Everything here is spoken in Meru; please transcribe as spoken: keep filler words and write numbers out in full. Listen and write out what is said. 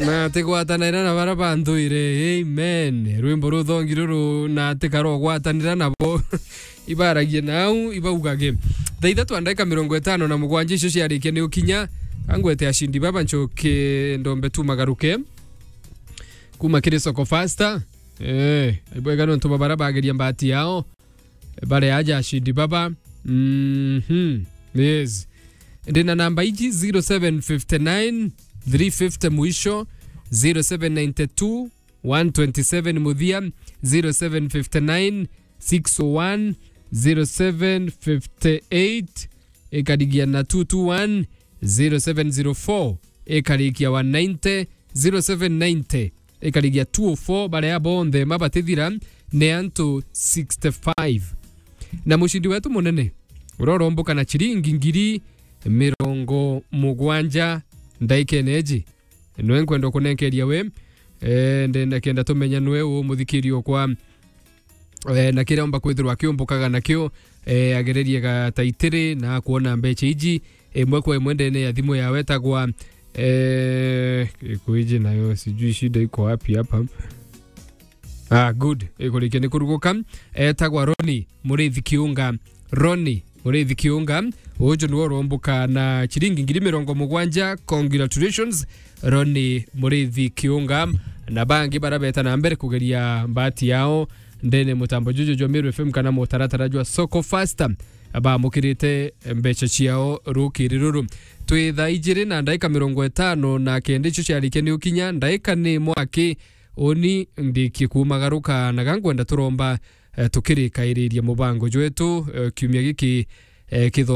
Na atigwatanira na bara banthwire. Amen. Rwimbo ruthongi ruru na atikara ugwatanira nabo. Ibaragie nau, ibaugage. Thaa ithatu na ndagika mirongo itano na mugwanja icio ciarikia ni ukinya. Angwete ashindi baba ncoke ndombe tu magaruke. Kuma kiri Soko Fasta. Eh, ibwega nontu babara bageria mbati yao. Bare aja ashindi baba. Mhm. Yes. Ndina namba iji zero seven fifty nine three fifty mwisho, zero seven ninety two one twenty seven muthia, zero seven fifty nine six oh one zero seven fifty eight ikarigia na two two one, zero seven zero four ikarikia one ninety, zero seven ninety ikarigia two oh four. Baria bonthe mabatithira ni antu sixty five. Na mucindi wetu munene uria uromboka na ciringi ngiri mirongo mugwanja ndaikene iji, nwe nkwenda kunenkeria we. Eh, ndenda kenda tumenya nwe u muthikiri okwa, eh, na kiria omba kwithirwa akiumbukaga nakio, eh, agererie gataitiri na akuona mbecha iji imwe kwa imwe ndene ya thimu yawe etagwa, eh, ikuiji nayo, sijui shida iko wapi hapa. Ah, good. Ikurikia ni kuruguka. Etagwa Roni Murithi Kiunga. Roni Murithi Kiunga. Uju niwe urombuka na ciringi ngiri mirongo mugwanja. Congratulations, Roni Murithi Kiunga. Na bangi bara beta na mbere kugeria mbati yao ndene mutambo juju jwa Meru F M kana mutaratara jwa Soko Fasta, bamukirite mbecha ciao rukiri ruru. Twi thaa ijiri na ndaika mirongo itano na kenda icio ciarikia ni ukinya, ndaika ni mwaki. Uni ndikie kumagaruka na gangwenda turomba, eh, tukirikairiria mubango jwetu, eh, kiumia giki, eh, kitho-